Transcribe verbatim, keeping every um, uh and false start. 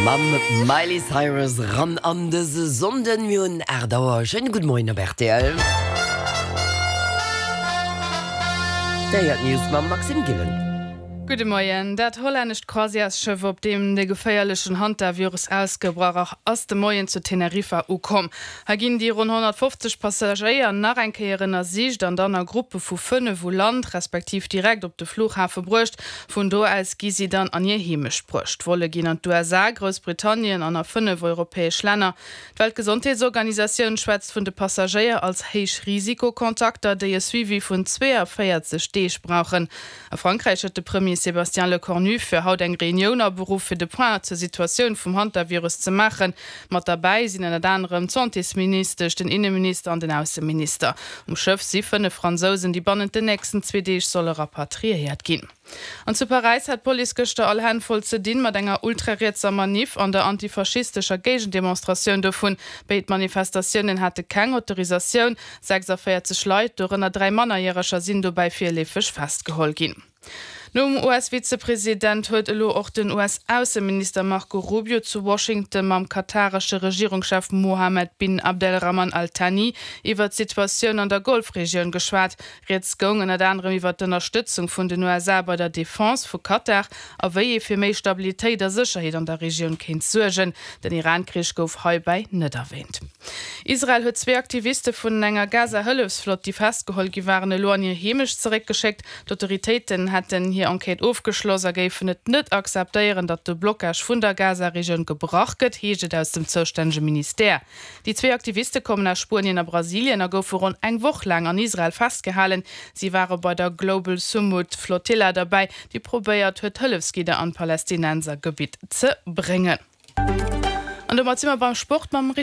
Mam Miley Cyrus ran an dëse Sonnden. Mir hunn aacht Auer. Schéine gudde Moien op rtl. Déi héiert d'News mam Maxime Gillen. Gudde Moien. Dat hollännescht Croisièresschëff, op deem de geféierlechen Hantavirus ausgebrach ass, de Moien zu Teneriffa ukomm. Hei ginn déi ronn honnertfofzeg Passagéier nach eng Kéier ënnersicht an dann a Gruppe vu fënnef u Land, respektiv direkt op de Fluchhafe bruecht. Vun do aus gi si dann an hir Heemecht bruecht. D'Volle ginn an d'USA, Groussbritannien an a fënnef europäesch Länner. D'Weltgesondheetsorganisatioun schwätzt vun de Passagéier als Héich-Risiko-Kontakter, déi e Suivi vun zweeënvéierzeg Deeg brauchen. A Frankräich huet de Premier Sébastien Lecornu fir haut eng Reunioun aberuff, fir de Point zur Situatioun vum Hantavirus ze maachen. Mat derbäi sinn ënnert anerem d'Santésministesch, den Inneminister an den Ausseminister. Um Schëff si fënnef Fransousen, déi bannent den nächsten zwee Deeg solle rapatriéiert ginn. An zu Paräis hat d'Police gëschter all Hänn voll ze dinn mat enger ultrarietser Maniff an der antifaschistescher Géigendemonstratioun dovun. Béid Manifestatiounen hate keng Autorisatioun. sechsundvéierzeg Leit, dorënner dräi Mannerjäreger, sinn dobäi virleefeg festgeholl ginn. Nom U S-Vizepresident huet elo och den U S-Ausseminister Marco Rubio zu Washington mam kataresche Regierungschef Mohammed bin Abdelrahman Al Thani iwwer d'Situatioun an der Golfregioun geschwat. Rieds goung ënnert anerem iwwer d'Ënnerstëtzung vun den U S A bei der Defense vu Katar a wéi ee fir méi Stabilitéit a Sécherheet an der Regioun kéint suergen. Den Iran-Krich gouf heibäi net erwäänt. Israel huet zwee Aktiviste vun enger Gaza-Hëllefsflott, déi festgeholl gi waren, elo an hir Heemecht zeréckgeschéckt. D'Autoritéiten hätten hir Enquête ofgeschloss a géifen et net akzeptéieren, datt de Blockage vun der Gaza-Regioun gebrach gëtt, heescht et aus dem zoustännege Ministère. Déi zwee Aktiviste kommen aus Spuenien a Brasilien a goufe ronn eng Woch laang an Israel festgehalen. Si ware bei der Global Sumud Flotilla derbäi, déi probéiert huet, Hëllefsgidder an d'Palästinensergebitt ze bréngen. An domat si mer beim Sport mam.